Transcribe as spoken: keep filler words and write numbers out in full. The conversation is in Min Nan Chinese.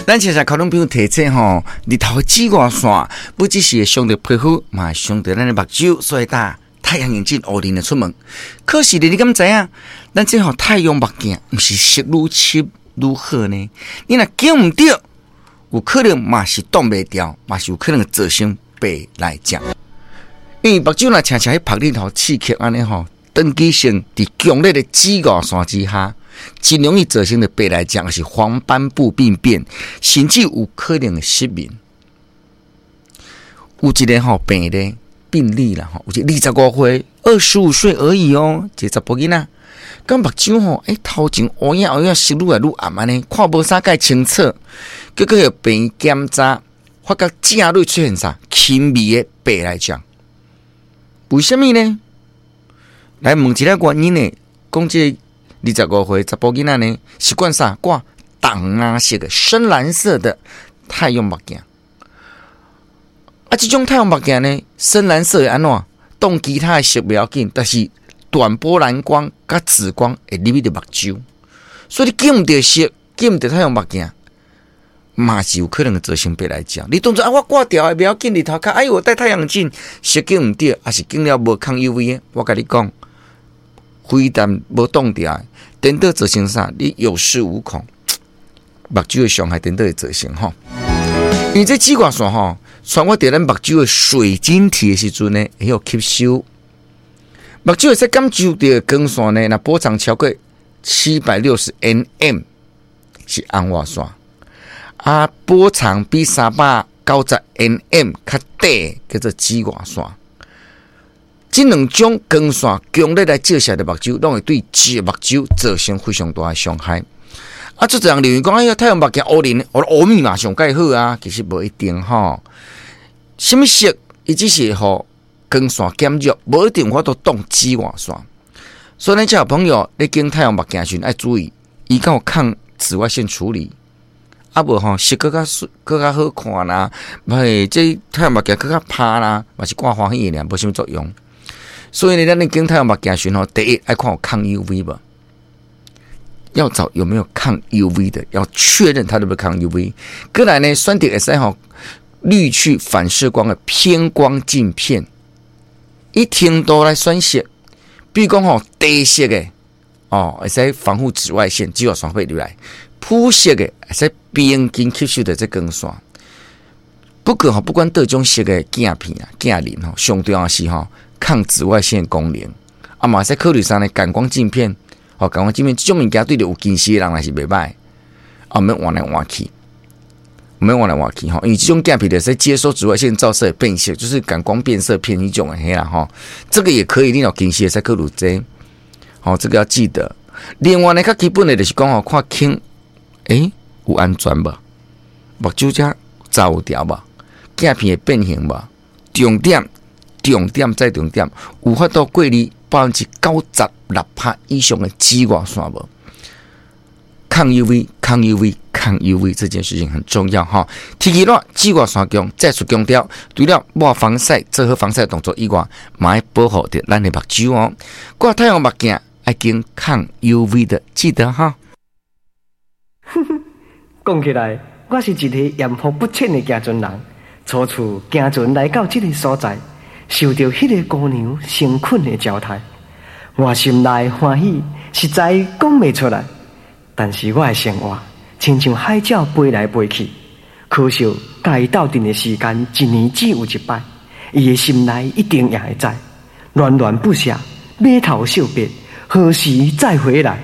咱其實觀眾朋友提醒吼，日頭紫外線不只是會傷著皮膚，嘛會傷著咱的目睭，所以戴太陽眼鏡烏輪的出門。可是你敢知影？咱這號太陽目鏡毋是色愈深愈好呢？你若揀毋著，有可能嘛是擋袂牢，嘛是有可能造成白內障。因為目睭若常常去曝日頭刺激按呢吼，長期性佇強烈的紫外線之下，真容易造成的白內障，是黃斑部病變，甚至有可能失明。有一個吼病例病例啦吼，有一個二十五歲，二十五歲而已哦，一個查埔囡仔，講目睭吼，欸頭前烏影烏影，色愈來愈暗按呢，看無啥蓋清楚。結果予病檢查，發覺正類出現啥輕微的白內障。為啥物呢？來問一下原因呢？講這個二十五歲查埔囡仔呢，習慣啥掛淡藍色的深藍色的太陽目鏡。啊，這種太陽目鏡呢，深藍色會按怎？擋其他的色袂要緊，但是短波藍光佮紫光會入去著目睭，所以你揀毋著色，揀毋著太陽目鏡，嘛是有可能會造成白內障。你當作啊，我掛牢的袂要緊，日頭較，哎喲，我戴太陽鏡，色揀毋著，抑是揀了無抗 U V 的，我共你講，非但無擋牢，顛倒造成啥？你有恃無恐，目睭的傷害顛倒會造成吼。因為這紫外線吼，穿過佇咱目睭的水晶體的時陣呢，會予吸收。目睭會使感受著光線呢，若波長超過七百六十 nm 是紅外線，啊，波長比三百九十 nm 較短，叫做紫外線。這兩種光線強烈來照射著目睭，攏會對這目睭造成非常大的傷害。啊，足濟人認為講，哎呀，太陽目鏡烏輪，烏米嘛上蓋好啊，其實無一定吼。啥物色，伊只是予光線減弱，無一定有法度擋紫外線。所以，咱這朋友，你揀太陽目鏡時，愛注意，伊敢有抗紫外線處理。啊無吼，色閣較水，閣較好看啦，袂這太陽目鏡閣較拍啦，嘛是看歡喜的爾，無啥物作用。所以呢，咱咧揀太陽目鏡時吼，第一愛看有抗 U V 無？要找有沒有抗 U V 的，要確認它對不對抗 U V。過來呢，選擇會使吼濾去反射光的偏光鏡片，一程度來選色，比如講吼茶色的哦，會使防護紫外線，紫外線會入來；膚色的會使平均吸收著這光線。不過吼，不管佗種色的鏡片啊、鏡面吼，上重要是吼抗紫外線功能。啊，嘛會使考慮啥呢？感光鏡片。哦，感光鏡片這種物件對著有近視的人來是袂䆀，啊，毋免換來換去，毋免換來換去吼，因為這種鏡片就是接收紫外線照射變色，就是感光變色片彼種的彼啦吼。這個也可以，你若近視會使考慮這個，吼，這個要記得。另外呢，較基本的就是講吼，看輕，欸，有安全無？目睭遮罩有牢無？鏡片會變形無？重點，重點再重點，有法度過濾百分之九十六趴以上的紫外線無？抗 U V、抗 U V、抗 U V 這件事情很重要哈。天氣熱，紫外線強，再次強調，除了抹防曬、做好防曬動作以外，嘛愛保護著咱的目睭哦。掛太陽目鏡愛揀抗 U V 的，記得哈。講起來，我是一個艷福不淺的行船人。初次行船來到這個所在，受著彼个姑娘誠懇的招待，我心內歡喜，實在講袂出來。但是我的生活親像海鳥飛來飛去，可惜佮伊鬥陣的時間一年只有一擺，伊的心內一定也會知，戀戀不捨，碼頭惜別，何時再回來？